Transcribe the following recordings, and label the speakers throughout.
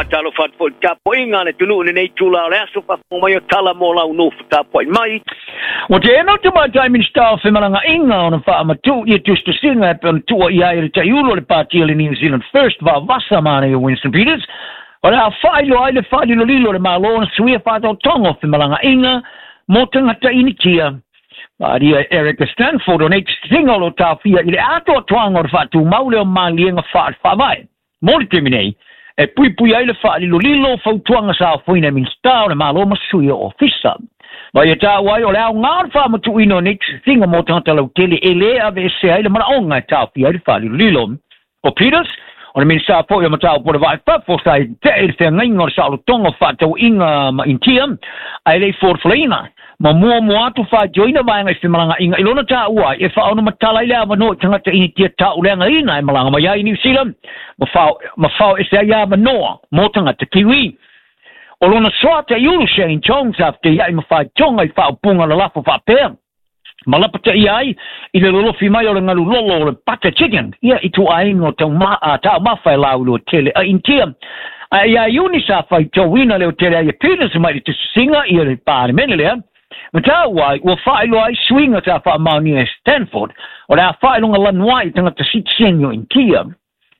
Speaker 1: Faatalofa atu foi i le tapuaiga a le atunuu i lenei itula o le aso, faafofoga mai o tala mo lau nofo tapuai mai.
Speaker 2: Ua teena le Tamaitai Minisita o Femalagaaiga ona faamatuu ia tusitusiga e pei ona tuuaia ai e le taiulu o le Pati o le New Zealand First vaavasa manaia Winston Peters, o le a faailoa ai le faalilolilo o le Malo ona suia faataotoga o femalagaaiga mo tagata Initia. Faaalia e Erica Stanford o nei tusitusiga o lo o taofia i le atoatoaga o le faatumau lea o maliega faale-faavae mo le taimi nei, e puipui ai le faalilolilo o fautuaga sa ofoina e Minisita o le Malo ma sui o Ofisa. Ma ia taua ai o le aoga o le faamatuuina o nei tusitusiga mo tagata lautele e lē aveesea ai le manaoga e taofia ai le faalilolilo. O Peters, o le Minisita foi o Mataupu o le Vaa i Fafo, sa i te'e i le feagaiga o le saolotoga o fefaatauaiga ma Initia, ae le i folafolaina ma muamua atu faitioina vaega i femalagaaiga i lona taua ai e faaonomatala ai le avanoa i tagata Initia tauleagaina e malaga mai ai i Niu Sila ma fao ma fao ese ai avanoa mo tagata Kiwi. O lona soa taiulu Shane Jones sa feteiai ma faitioga i faaupuga lalafo faapea, ma lapataia ai i le lolofi mai o le galu lolo o le butter chicken ia i ituaiga o taumafa e laulua tele a Initia. Ae iā Iuni sa faitauina le otele ai e Peters mai le tusitusiga ia le Palemene lea, ma taua ai ua faailoa ai suiga sa faamaonia e Stanford o le a faailoga lanu ai i tagata sitiseni o Initia.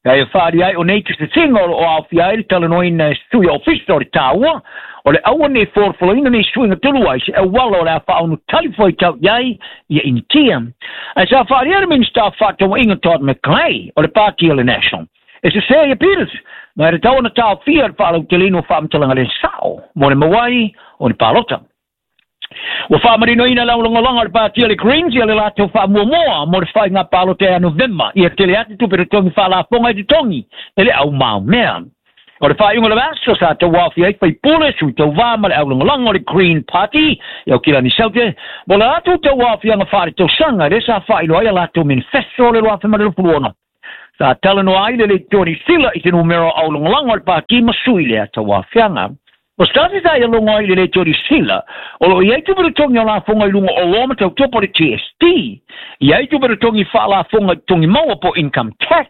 Speaker 2: Kei a whaari ai o nei tusitusiga o lo o aofia ai le talanoaina e sui ofisa o le taua, o le aua nei folafolaina nei suiga tolu ai se auala o le a faaonu tali fuaitau i ai ia Initia. Ae sa faaalia le Minisita o Faatauaiga Todd McClay o le Pati o le National e sesē ia Peters, ma e tatau ona taofia le faalauteleina o faamatalaga le sao mo le maua ai o ni palota. Ua faamarinoina le aulagolago a le Pati o le Greens ia le latou faamuamua mo le faiga palota ia Novema ia tele atu tupe totogi faalafoga i totogi e le au maomea. O le faaiuga o le vaiaso sa tauaofia ai faipule, sui tauva ma le aulagolago o le Green Party i Aukilani Saute mo le latou tauaofiaga faaletausaga lea sa faailoa ai a latou manifesto o le 2026. Sa talanoa ai le Leitio Niu Sila i se numera o aulagolago a le Pati ma sui lea tauaofiaga. O se tasi sa ia logo ai i le Leitio Niu Sila, o lo o i ai tupe totogi o lafoga i luga o oloa ma tautopo le GST, i ai tupe totogi faalafoga i totogi maua po o income tax,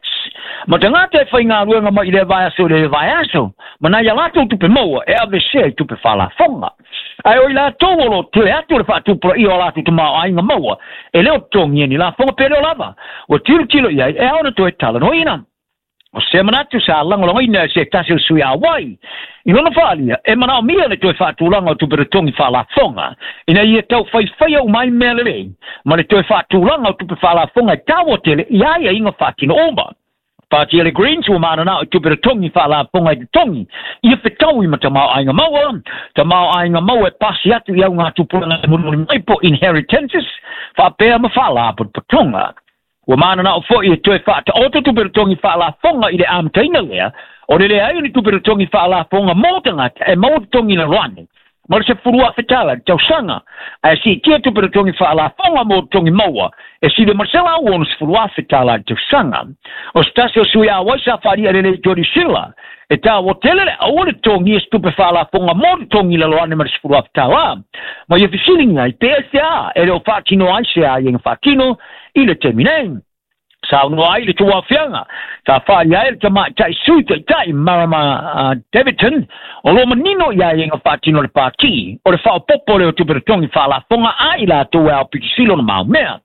Speaker 2: ma tagata e faigaluega mai i lea vaiaso i lea vaiaso, ma nai a latou tupe maua e aveesea i tupe faalafoga. Ae o i latou o lo o tele atu le faatupulaia o a latou tamaoaiga maua, e le o totogia ni lafoga pe le o lava, ua tilotilo i ai e ao ona toe talanoaina. O se manatu sa lagolagoina e se tasi o sui auai i lona faaalia e manaomia le toe faatulaga o tupe totogi faalafoga ina ia tau faifaia uma ai mea lelei ma le toe faatulaga o tupe faalafoga e taua tele i aiaiga faatino uma. Pati le Greens ua mananao i tupe totogi faalafoga i totogi ia fetaui ma tamaoaiga maua, tamaoaiga maua e pasi atu i augatupulaga e mulimuli mai po inheritances faapea ma faalapotopotoga. Ua mananao foi e toe faataoto tupe totogi faalafoga i le amataina lea o le leai o ni tupe totogi faalafoga mo tagata e maua totogi lalo ane ma le $10,000 i le tausaga, ae siitia tupe totogi faalafoga mo totogi maua e sili ma le $160,000 i le tausaga. O se tasi o sui auai sa faaalia lelei i Tony Sila, e taua tele le aua le totogia se tupe faalafoga mo totogi lalo ane ma le $10,000. Ma ia fesiligia ai pe aisea e le o faatino ai se aiaiga faatino i le taimi nei. Saunoa ai le tauaofiaga sa faaalia ai le tamaitai sui taitai Marama Davidson o lo o manino i aiaiga faatino a le Pati o le faaopoopo lea o tupe totogi faalafoga a i latou e aopitisilo ona maomea.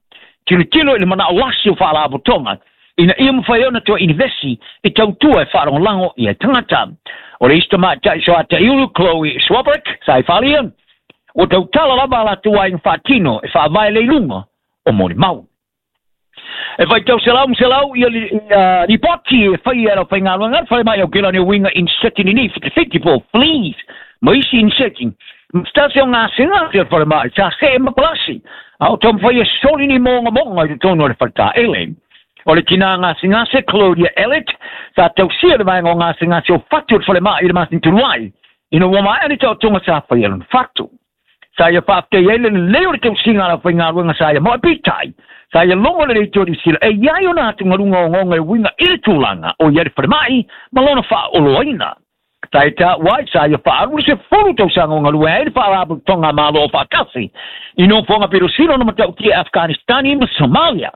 Speaker 2: Tilotilo i le manao lasi o faalapotopotoga ina ia mafai ai ona toe inivesi i tautua e faalagolago i ai tagata. O le isi tamaitai soataiulu Chloe Swarbrick sa i faaalia, ua tautala lava a latou aiga faatino e faavae lea i luga o molimau. E faitau selau ma selau ia lipoti e faia e lau faigaluega le falemai aukela ni uiga inseti nini whitiwhiti po o fleas ma isi inseti. Ma se tasi o gasegase o le falemai sa see ma palasi a o taumafai e soli ni mogamoga i totonu o le faletaele. O le tinā gasegase Claudia Ellett sa tausia le vaega o gasegase o fatu o le falemai i le masina talu ai ina ua maea le taotoga sa faia lona fatu. Sa ia faafetai ai le lelei o le tausiga a le aufaigaluega sa ia moe peitai, sa ia logo lelei Tony Sila e i ai ona atugaluga ogaoga e uiga i le tulaga o i ai le falemai ma lona faaoloaina. Sa ia taua ai, sa ia faaalu le 10 tausaga o galue ai le Faalapotopotoga a Malo Aofaatasi i nofoaga pito sili ona matautia e Afghanistani ma Somalia.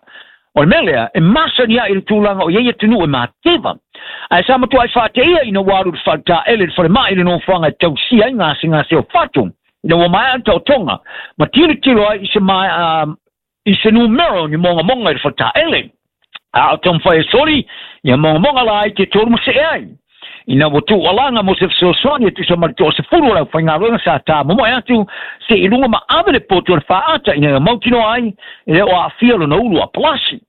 Speaker 2: O le mea lea, e masani ai i le tulaga o i ai atunuu e mateva. Ae sa matuai faateia ina ua alu i le faletaele i le falemai i le nofoaga e tausia ai gasegase o fatu, ina ua maea le taotoga ma tilotilo ai i se i se numera o ni mogamoga i le faletaele. A o taumafai e soli ia mogamoga laiti e tolu masee ai. Ina ua tuualaga mo se fesoasoani e tusa ma le 10 o le aufaigaluega sa tamomoe atu se'i i luga ma ave le poto o le faata ina ia mautinoa ai e le o aafia lona ulu a palasi.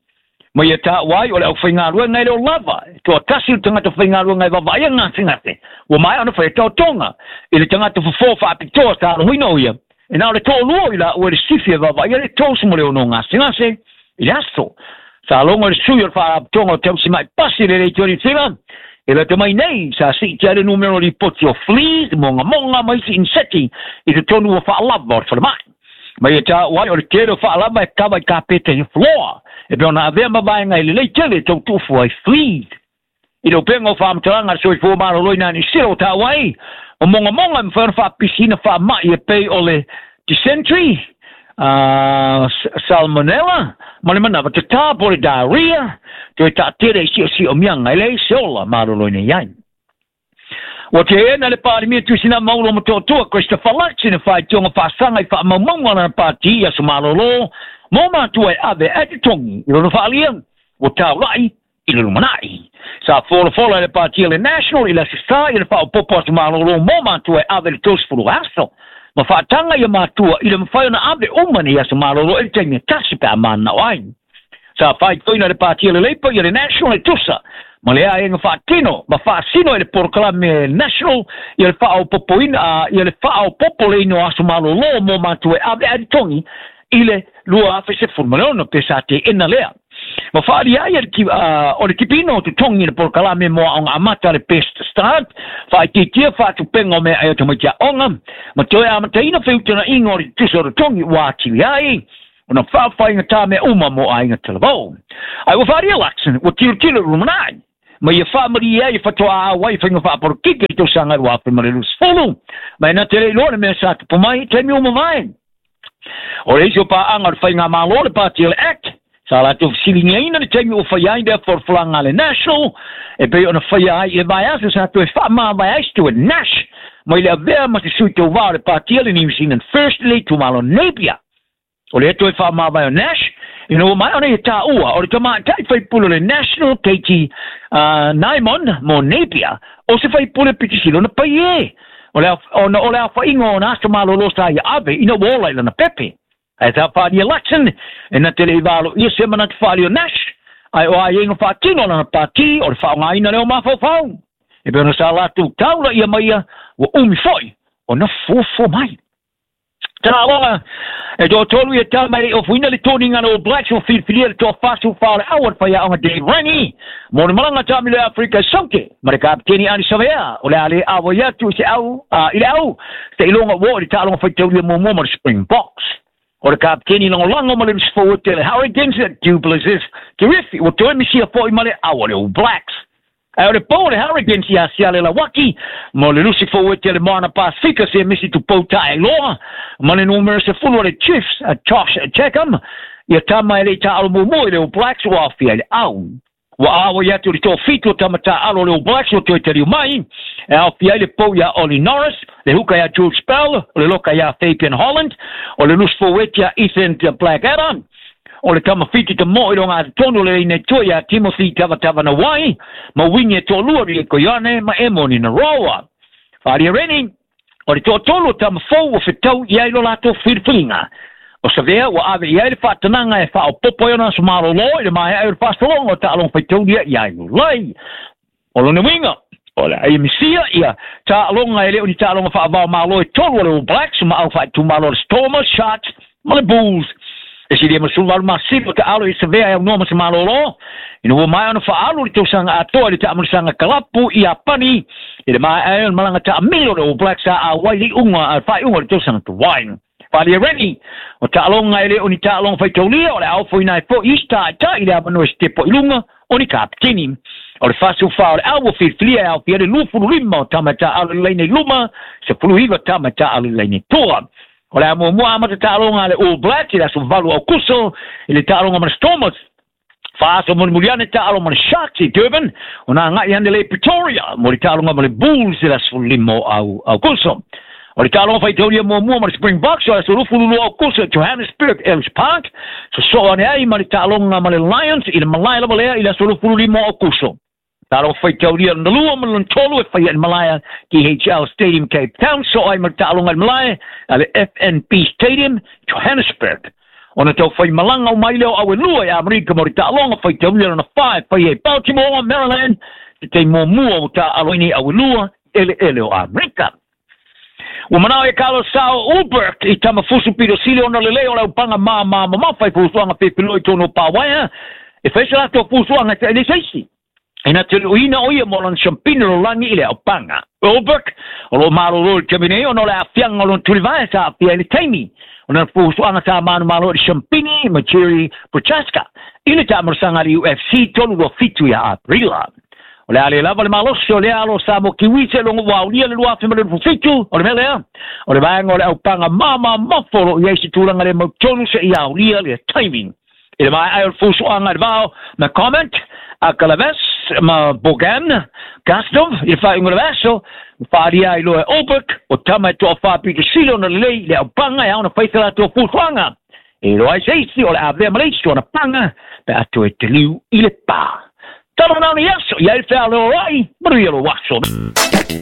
Speaker 2: Ma ia taua ai o le aufaigaluega e le o lava, e toatasi le tagata faigaluega e vaavaaia gasegase ua maea ona faia taotoga. I le tagata fofo faapitoa sa aloina o ia, e na o le toalua o i laua i le sifi e vaavaaia le 36 gasegase i le aso. Sa logo le sui o le faalapotopotoga o tausima'i pasi le Leitio Niu Sila, e lata mai nei sa siitia ai le numera o lipoti o fleas, mogamoga ma isi inseti i totonu o faalava o le falemai. Ma ia taua ai o le tele o faalava e kava i kapeta i floor, e pei ona avea ma vaega e lelei tele e tau tuufu ai fleas. I le upega o faamatalaga a le soifua maloloina a Niu Sila ua taua ai, o mogamoga e mafai ona faapisiina faamai e pei o le dysentery, salmonella, ma le manava tatā po o le diarrhea, toe taatele i siosiomia e leai se ola maloloina i ai. Ua teena le Palemia Tuisinaa Maulo Motootua Christopher Luxon i le faitioga faasaga i faamaumauga a lana pati i aso malolo mo matua e ave ae totogi i lona faaalia ua taulai i le lumanai. Sa folafola e le Pati a le National i le Aso Sa i le faaopoopo aso malolo mo matua e ave i le 30 aso, ma faataga ia matua i le mafai ona ave uma nei aso malolo i le taimi e tasi pe a mananao ai. Sa faitioina e le Pati a le Labour ia le National e tusa ma le aega faatino ma faasino e le polokalame National ia le faaopoopoina ia le faaopoopoleina o aso malolo mo matua e ave ae totogi i le 2016 pe sa teena lea. Ma faaalia ai o le tipiina o totogi i le polokalame mo aoga amata le Best Start, faaitiitia faatupenga o meaai o tamaiti aoga, ma toe amataina feutagaiga o le tutusa o totogi ua atili ai ona faafaigata mea uma mo aiga talavou. Ae ua faaalia Luxon ua tilotilo i le lumanai, ma ia faamalie ai e faatoa auai i faiga faapolokiki i le tausaga 2020, ma e na te le iloa le mea sa tupu mai i taimi ua mavae. O le isi o paaga o le faigamalo le Pati o le Act, sa latou fesiligiaina le taimi ua faia ai lea folafolaga a le National, e pei ona faia ai i le vaiaso sa toe faamavae ai Stuart Nash mai le avea ma se sui tauva o le Pati a le New Zealand First i le itumalo Napier. O lea toe faamavae o Nash, ina ua maea ona ia taua o le tamaitai faipule o le National Katie Naimon mo Napier, o se faipule pitisili ona pai e. O le, ona o le aofaiga o ona aso malolo sa ia ave ina ua ola i lana pepe. Ae sa faaalia Luxon, e na te le i valoia se manatu faaalia o Nash, ae o aiaiga faatino a lana pati o le faaaogaina lea o mafaufau. E pei ona sa latou taula ia mai ia, ua umi foi ona fuafua mai. Taaloga e toatolu ia tama e le i ofuina le toniga a le All Blacks ua filifilia le toa-44 o le au a le faiaoga Dave Rennie mo le malaga taamilo i Afrika e Saute ma le kapeteni Ardie Savea o le a le auai atu i se au i le au seiloga ua oo i le taaloga faitaulia muamua ma le Springboks. O le kapeteni lagolago ma le lusi forward le Hurricanes Du Plessis Terrific ua toe misia foi ma le au a le All Blacks. Ae o le pou o le Hurricanes ia Siale Lauaki ma o le lusi forward le Moana Pasifika se misi tupou taeloa ma le numera 10 o le Chiefs a Josh Jackham ia tama e le i taaalo muamua i le All Blacks ua aofia i le au. Ua auai atu le toafitu o tama taaalo o le All Blacks ua toe taliu mai e aofia ai le pou ia Ollie Norris, le huka ia George Bell, o le loka ia Fabian Holland, o le lusi forward ia Ethan Blackadder, O le tama whiti te moe o ngā tonu le ine tua ia Timothy Tavatavanawai, ma wingi e toalua Rieko Ioane ma Emoni Naroa. Whaaria Rennie, o le toatolu o tama fou ua whetau i ai lo latou whiriwhiringa. O Savea ua ave i ai le whaatanaga e whaopopo ai ona aso malolo i le maea ai o le faasologa o taaloga faitaulia i ai Iulai. O lona uiga, o le a misia ia taaloga e le o ni taaloga faavao malo e tolu a le All Blacks ma au faaitumalo a le Stormers, Sharks ma le Bulls. E silia ma 18 masina o taalo i Savea e aunoa ma se malolo, ina ua maea ona faaalu le tausaga atoa i le taamilisaga kalapu i Iapani i le maea ai o le malaga taamilo o le All Blacks sa auai le iuga a le faaiuga o le tausaga tuai. Faaalia Rennie, o taaloga e le o ni taaloga faitaulia, o le a ofoina ai foi isi taitai i le avanoa e sitepo i luga o ni kapeteni. O le 44 o le au ua filifilia e aofia ai le 25 o tama e taaalo i le laina i luma, 19 tama e taaalo i le laina i tua. O le a muamua amata taaloga a le All Blacks i le aso 8 o Aokuso i le taaloga ma le Stormers. 4 aso mulimuli ane taalo ma le Sharks i Durban, ona agai ane lea i Pretoria mo le taaloga ma le Bulls i le aso 15 o Aukuso. O le taaloga faitaulia muamua ma le Springboks o le aso 22 Aukuso i Johannesburg, Ellis Park, sosoo ane ai ma le taaloga ma le Lions i le malae lava lea i le aso 25 o Aukuso. Taaloga faitaulia lona lua ma lona tolu e faia i le malae DHL Stadium, Cape Town, soo ai ma le taaloga i le malae a le FNB Stadium, Johannesburg. Ona tau fai malaga o mai lea o auelua i Amerika mo le taaloga faitaulia lona fa e faia i Baltimore, Maryland, te taimi muamua ua taaalo ai nei auelua eleele o Amerika. Ua manao e Carlos Sao Ulberg i tama fusu pito sili ona lelei o le aupaga māmā mamafa i fuafuaga pepelua i totonu o Pawaea e fai se latou fuafuaga e taʻi se isi. E na te luʻuina o ia mo lona siampina lalolagi i le aupaga. Ulberg o lo o malolo i le taimi nei ona o le aafiaga o lona tulivae sa aafia i le taimi o lana fuafuaga sa manumalo i le siampini ma Jerry Prochaska i le taamalosaga a le UFC 327 ia Aperila. O le a le lava le malosi o lea alo Samoa Kiwi seiloga ua aulia le 2027, o le mea lea, o le vaega o le aupaga māmā mamafa o lo o i ai se tulaga le mautonu seia aulia le taimi. I le maea ai o le fuafuaga i le vao ma comment a Kalaves ma Bogan Gassnov i le faaiuga o le vaiaso, ua faaalia ai loa e Ulberg o tama e toafa pito sili ona lelei i le aupaga e ao ona fai se latou fuafuaga. E iloa ai se isi o le a avea ma le isi ona paga pe a toe taliu i le pa. Talo manao nei aso, i ai le fealeoai, manuia lou aso.